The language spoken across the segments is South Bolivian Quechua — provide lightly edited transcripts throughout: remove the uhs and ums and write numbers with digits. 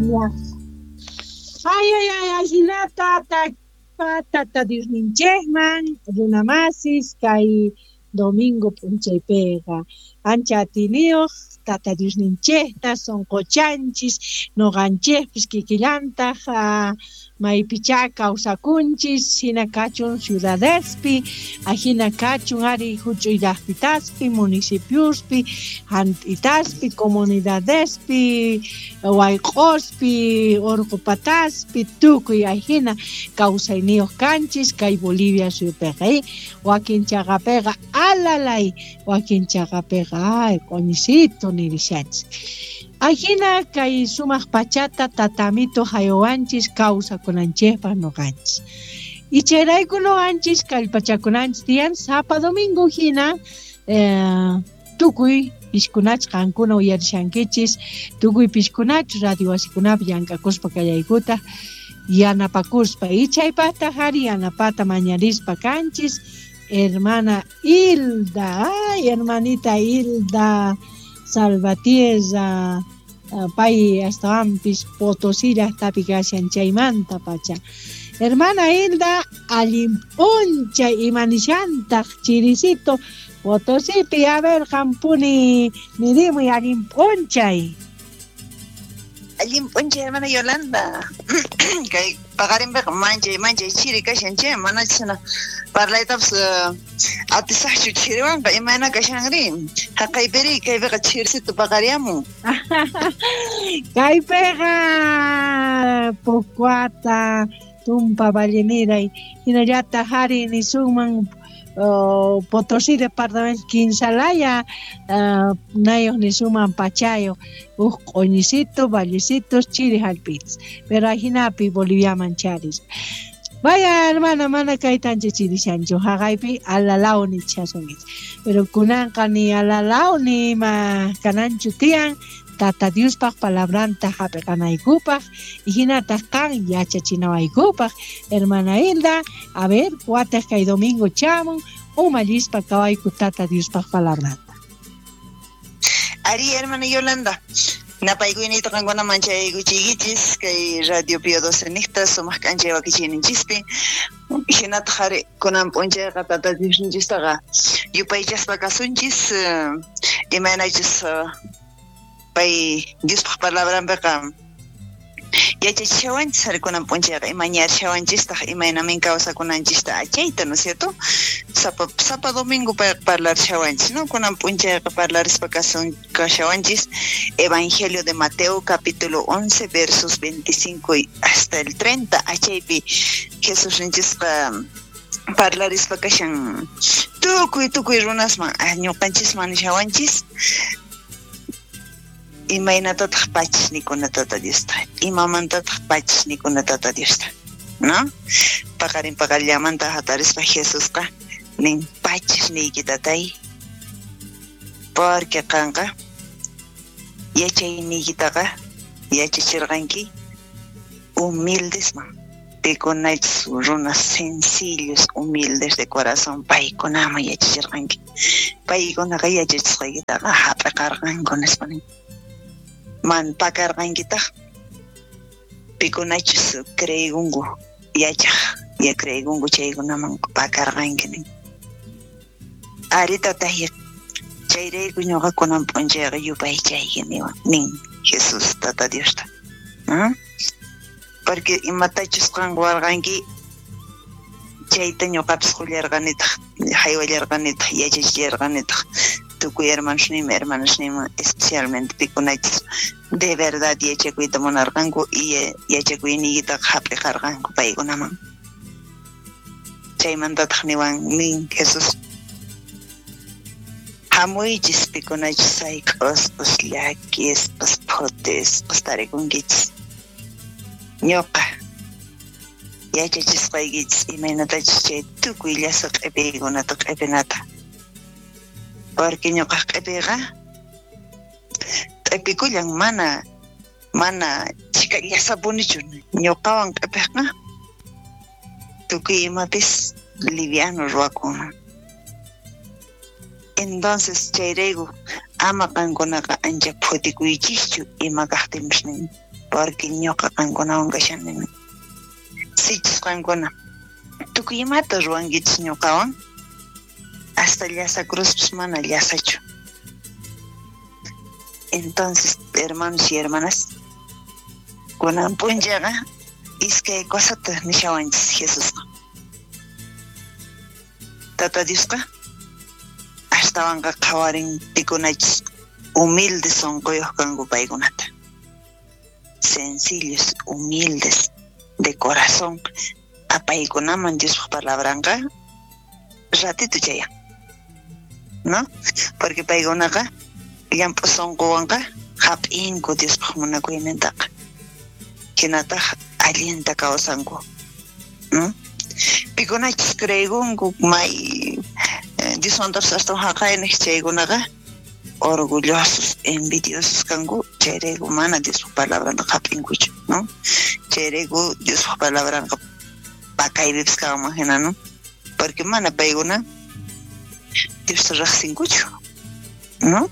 Aleluya. Ay, ay, ay, ajinata tata Diosninchejman runamasis kay domingo p'unchaypiqa ancha atiniyoj tata Diosninchejta sonqochanchis noqanchejpis kikillantaj maypichá kawsakunchis hina kachun ciudadespi ajina kachun ari huch'uy llaqtitaspi municipiospi jant'itaspi comunidadespi wayq'ospi urqupataspi tukuy ajina kawsayniyuq kanchis kay Bolivia suyupiqa wakin chaqapiqa alalay wakin chaqapiqa ay q'uñisito nirishanchis. Ajina kay sumaq pachata tatamito haywanchis kawsakunanchikpaq noqanchis. Y chayrayku noqanchis kallpachakunanchis tiyan sapa domingo hina tukuy pishkunach qankuna uyarishankichis tukuy pishkunach radio wasikunapi llank'akuspa kallaykuta yanapakuspa y chaypaqtaq ari yanapata mañarispa kanchis hermana Hilda, ay hermanita Hilda Salvatierra, pay astawanpis Potosí llaqtapi kashan chaymanta pacha. Hermana Hilda, allin p'unchay imanishantaq chirisito Potosipi, a ver qampuni nirimuy allin p'unchay. Allin p'unchay hermana Yolanda. Kay paqarinpiqa manchay manchay chiri kashan chay mana chhana parlaytapas atisaqchu chiriwanqa imayna kashanri haqaypiri kaypiqa chirisito paqariyamun. Kaypiqa Pucuata, Tumpa, Valleneray hinallataq ari nisunman Potosí departamento Quinsalaya nayuq nisunman pachayuq uj q'uñisito, vallecitos, chiri jallp'itas pero ajinapi Boliviaman charis. Vaya hermana, mana kaytanchik chirishanchu haqaypi alalaw nichasunkichik pero kunanqa ni alalaw ni ima kananchu tiyan Tata Diospaq palabranta hap'iqanaykupaq y hinataq qan yachachinawaykupaq hermana Hilda, a ver, wataq kay domingo chamun umallispa kawayku Tata Diospaq palabranta. Ari hermana Yolanda, napaykuyniyta qankunaman chayaykuchiykichis kay Radio Pío 12 niqta sumaq k'anchay wakichiyninchispi hinataq ari kunan p'unchayqa Tata Diosninchistaqa yupaychaspa kasunchis imaynachus pay Diospaq palabranpiqa yachachishawanchis ari kunan p'unchayqa imañarishawanchistaq imaynamin kawsakunanchista achayta, ¿no es cierto? Sapa sapa domingo payqa parlarishawanchis, ¿no? Kunan p'unchayqa parlarispa kasun kashawanchis Evangelio de Mateo capítulo 11 versos 25 y hasta el 30 achaypi Jesusninchisqa parlarispa kashan tukuy tukuy runasman ñuqanchisman nishawanchis imaynatataq pachis nikuna Tata Diosta, imamantataq pachis nikuna Tata Diosta, ¿no? Paqarin paqarillamanta hatarispa Jesusqa nin pachis niyki tatay, porque qanqa yachayniykitaqa yachachirqanki humildesman, pikunachus runas sencillos, humildes de corazón, paykunaman yachachirqanki, paykunaqa yachachisqaykitaqa hap'iqarqanku nispa nin. Man pakarqankitaq pikunachus creegunku yachaq ya creegunku chaykunaman pakarqanki nin. Ari tatay chayrayku ñuqa kunan p'unchayqa yupaychayki niwan nin Jesús Tata Diosta. Porque imatachus qan warqanki chayta ñuqapis qullarqanitaq haywallarqanitaq yachachillarqanitaq tukuy hermanosniyman hermanasniyman especialmente pikunachus de verdad yachakuyta munarqanku y yachakuyniykitaqa hap'iqarqanku paykunaman. Chaymantataq niwan nin Jesús hamuychis pikunachus sayk'usqas llakisqas phutisqas tarikunkichis ñuqa yachachisqaykichis imaynatachus chay tukuy llasa q'ipiykunata q'ipinata porque ñuqaq q'ipiyqa q'ipikullan mana mana chika llasapunichu ñuqawan q'ipiqqa tukuy imapis liviano ruwakun. Entonces chayrayku Ama qankunaqa ancha phutikuychischu ima kaqtinpis nin, porque ñuqa qankunawan kashani nin. Sichus qankuna tukuy imata ruwankichis ñuqawan, hasta llasa cruzpis mana llasachu. Entonces, hermanos y hermanas, kunan p'unchayqa iskay cosata nishawanchis Jesusqa. Tata Diosqa astawanqa qhawarin pikunachus humildes sonqoyoj kanku paykunata. Sencillos, humildes, de corazón, apaykunaman Diospaj palabranqa ratito chayan, ¿no? Porque paykunaqa llamp'u sonqowanqa hap'inku Diospaj munakuynintaqa, hinataq allinta kawsanku, ¿no? Pikunachus creekunku may Diosmantapas astawan haqayniq chaykunaqa orgullosos, envidiosos kanku, chayrayku mana Diospaj palabranta hap'inkuchu, ¿no? Chayrayku Diospaj palabranqa pakaypipis kanman hina, ¿no? Porque mana paykuna Diosta riqsinkuchu, ¿no?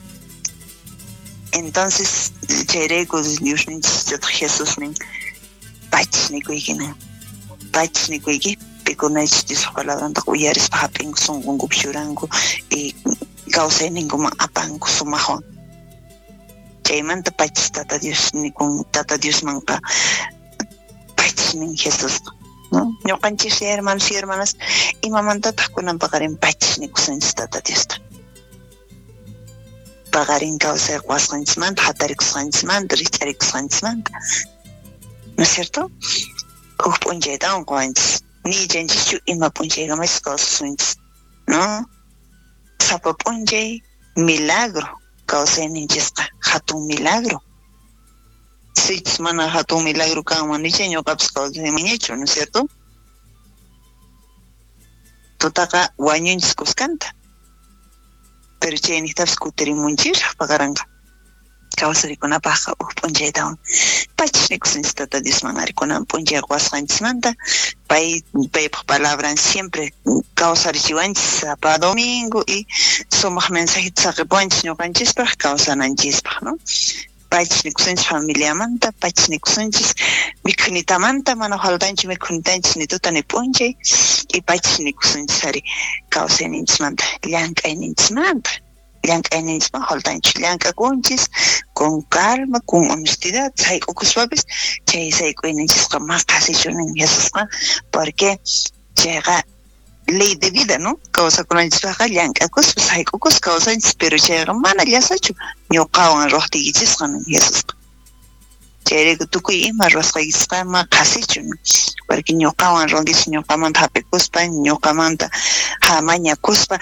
Entonces chayrayku Diosninchis Jesús nin, pachis nikuyki nin, pachis nikuyki, pikunachus Diospaj palabranta uyarispa hap'inku, sunqunkupi churanku y kawsayninkuman apanku sumaqwan. Chaymanta pachis Tata Dios nikun, Tata Diosmanqa pachis nin Jesusqa, ¿no? Ñuqanchis hermanos y hermanas, imamantataq kunan paqarin pachis nikusunchis Tata Diosta? Paqarin kawsay quwasqanchismanta, hatarikusqanchismanta, rikch'arikusqanchismanta, ¿no es cierto? Huk p'unchaytawan quwanchis, ni yachanchischu ima p'unchaykamachus kawsasunchis, ¿no? Sapa p'unchay milagro kawsayninchisqa, hatun milagro. Sichus mana hatun milagro kanman nicha ñuqapas kawsaymanñachu, ¿no es cierto? Tutaqa wañunchis kuskanta, pero chayniqtapas kutirimunchisraq paqaranqa kawsarikunapaqqa huk p'unchaytawan. Pachis nikusunchis Tata Diosman ari kunan p'unchay quwasqanchismanta, paypaj palabran siempre kawsarichiwanchis sapa domingo y sumaq mensajeta saqipuwanchis ñuqanchispaq kawsananchispaq, ¿no? Pachis nikusunchis familiamanta, pachis nikusunchis mikhunitamanta, mana faltanchu mikhunitanchis ni tuta ni p'unchay, y pachis nikusunchis ari kawsayninchismanta, llank'ayninchismanta. Llank'ayninchisman faltanchu, llank'akunchis con calma, con honestidad, sayk'ukuspapis chay sayk'uyninchisqa ma qhasichu nin Jesusqa, porque chayqa ley de vida, ¿no? Kawsakunanchispaqqa llank'akuspa sayk'ukuspa kawsanchis, pero chayqa mana llasachu ñuqawan ruwaqtiykichisqa nin Jesusqa. Chayrayku tukuy ima ruwasqaykichisqa ma qhasichu nin, porque ñuqawan ruwankichis, ñuqamanta hap'ikuspa, ñuqamanta mañakuspa,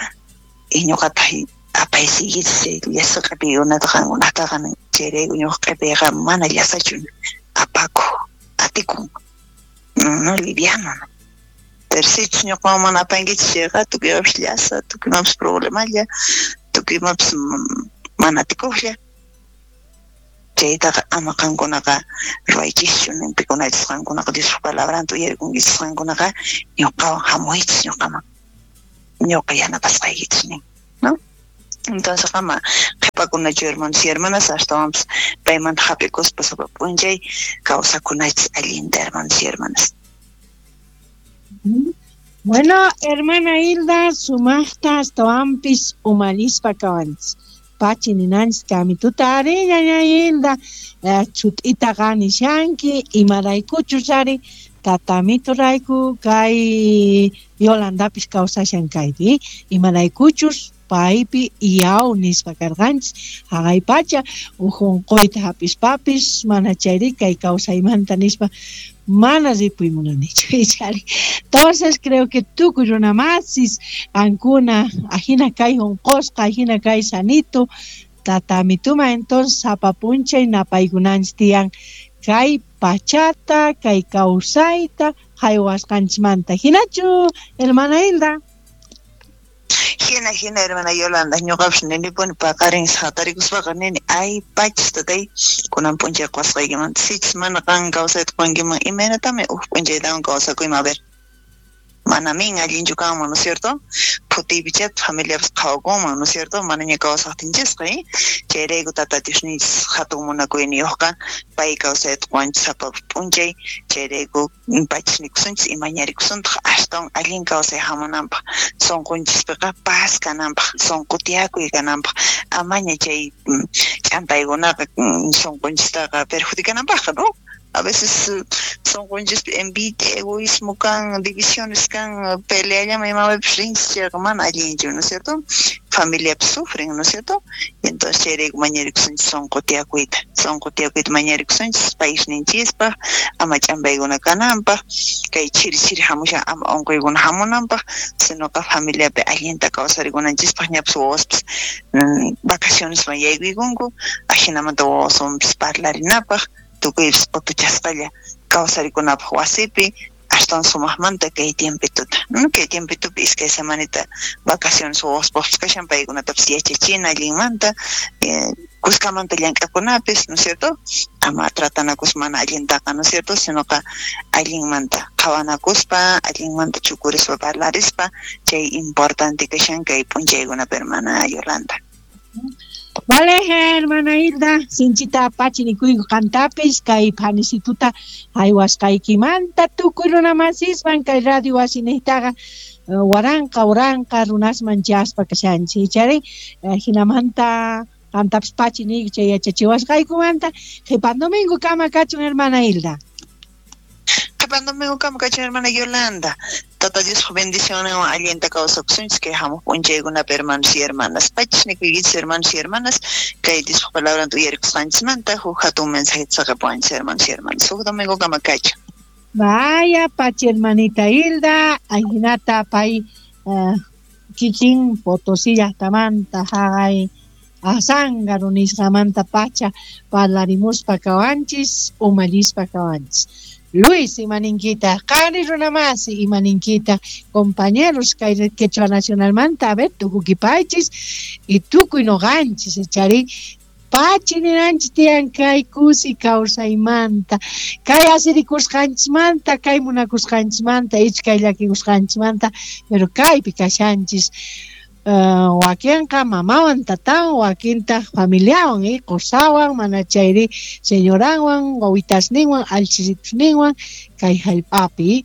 y ñuqataq apaysiykichis chay llasa q'ipiykunata qankunataqa nin. Chayrayku ñuqa q'ipiyqa mana llasachu nin, apakuq, atikun, no liviano, ¿no? Pero sichus ñuqawan mana apankichis chayqa tukuy imapis llasa, tukuy imapis problemalla, tukuy imapis mana atikuqlla. Chaytaqa ama qankunaqa ruwaychischu nin, pikunachus qankunaqa Diospaj palabranta uyarikunkichis qankunaqa ñuqawan hamuychis ñuqaman, ñuqa yanapasqaykichis nin, ¿no? Entonces ama qhipakunachu hermanos y hermanas, astawanpas paymanta hap'ikuspa sapa p'unchay kawsakunachis allinta, hermanos y hermanas. Bueno, hermana Hilda, sumaqta astawanpis umallispa kawanchis. Pachi ninanchis kamituta ari, ñaña Hilda, chut'itaqa nishanki, imaraykuchus ari, tatamitu rayku kay Yolandapis kawsashan kaypi, imaraykuchus paypi yaw nispa karqanchis, haqay pacha uj unquyta hap'ispapis mana chayri kay kawsaymanta nispa mana ripuy munanichu ichari. Entonces creo que tukuy runamasis qankuna ajina kay unqusqa, ajina kay sanito tatamituma, entonces sapa p'unchay napaykunanchis tiyan kay pachata, kay kawsayta haywasqanchismanta. Hinachu, hermana Hilda? Hina, hina, hermana Yolanda, ñuqapas ninipuni paqarin hatarikuspaqa nini, ay pachis tatay, kunan p'unchay quwasqaykimanta, sichus mana qan kawsayta quwankiman, imaynatami huk p'unchaytawan kawsakuyman, a ver. Manamin allinchu kanman, ¿no es cierto? Phutiypichá familiapas qhawakunman, ¿no es cierto? Manaña kawsaqtinchisqa, chayrayku Tata Diosninchis hatun munakuyniyuqqa pay kawsayta qowanchis sapa p'unchay, chayrayku pachisnikusunchis y mañarikusuntaq astawan allin kawsay hamunanpaq, sunqunchispiqa paz kananpaq, sunqu tiyakuy kananpaq, amaña chay ch'ampaykunaqa sunqunchistaqa perjudicananpaqqa, ¿no? A veces sunqunchispi envidia, egoísmo kan, divisiones kan, peleallaman imapipis rinchis chayqa mana allinchu, ¿no es cierto? Familiapis sufren, ¿no es cierto? Entonces chayrayku mañarikusunchis sunqu tiyakuyta, sunqu tiyakuyta mañarikusunchis paisninchispaq, ama ch'ampaykuna kananpaq, kay chiri chiri hamushan ama unquykuna hamunanpaq, sinoqa familiapi allinta kawsarikunanchispaq, ñapis wawaspis vacacionesman yaykuykunku, ajinamanta wawaswanpis parlarinapaq, tukuypis q'utuchasqalla kawsarikunapaq wasipi, astawan sumaqmanta kay tiempituta. Kay tiempitupi iskay semanita vacaciones wawaspaqpis kashan, paykunatapis yachachina allinmanta, kuskamanta llank'akunapis, ¿no es cierto? Ama tratanakus mana allintaqa, ¿no es cierto? Sinoqa allinmanta qhawanakuspa, allinmanta chukurispa parlarispa, chay importante kashan kay p'unchaykunapi, hermana Yolanda. Vale, hermana Hilda, sinchita pachi nikuyku qantapis kay phanisituta haywasqaykimanta tukuy runamasisman kay radio wasinejtaqa waranqa waranqa runasman chaspa kashanchis, ichari jinamanta qantapis pachi niyku chay yachachiwasqaykumanta. Qhipan domingo kama kachun, hermana Hilda. Qhipan domingo kama kachun, hermana Yolanda. Tata Diospa bendicionninwan allinta kawsakusunchis kay hamuq p'unchaykunapi, hermanos y hermanas. Pachis nikuykichis, hermanos y hermanas, kay Diospa palabranta uyarikusqanchismanta huk hatun mensajeta saqepuwanchis, hermanos y hermanas. Huk domingo kama kachun. Vaya, pachi hermanita Hilda, ajinata pay kikin Potosí llaqtamanta haqay Azángaro nisqamanta pacha parlarimuspa kawanchis, umallispa kawanchis. Luis, imaninkita, qari runamasi, imaninkita, compañeros kay Quechua Nacionalmanta, a ver, tukukipaychis y tukuy noqanchis, chari pachi ninanchis tiyan kay kusi kawsaymanta, kay asirikusqanchismanta, kay munakusqanchismanta, ich kay llakikusqanchismanta, pero kaypi kashanchis. Wakinqa mamawan tatawan, wakintaq familiawan, qosawan, mana chayri señoranwan, wawitasninwan, allchisitusninwan kay hallp'api.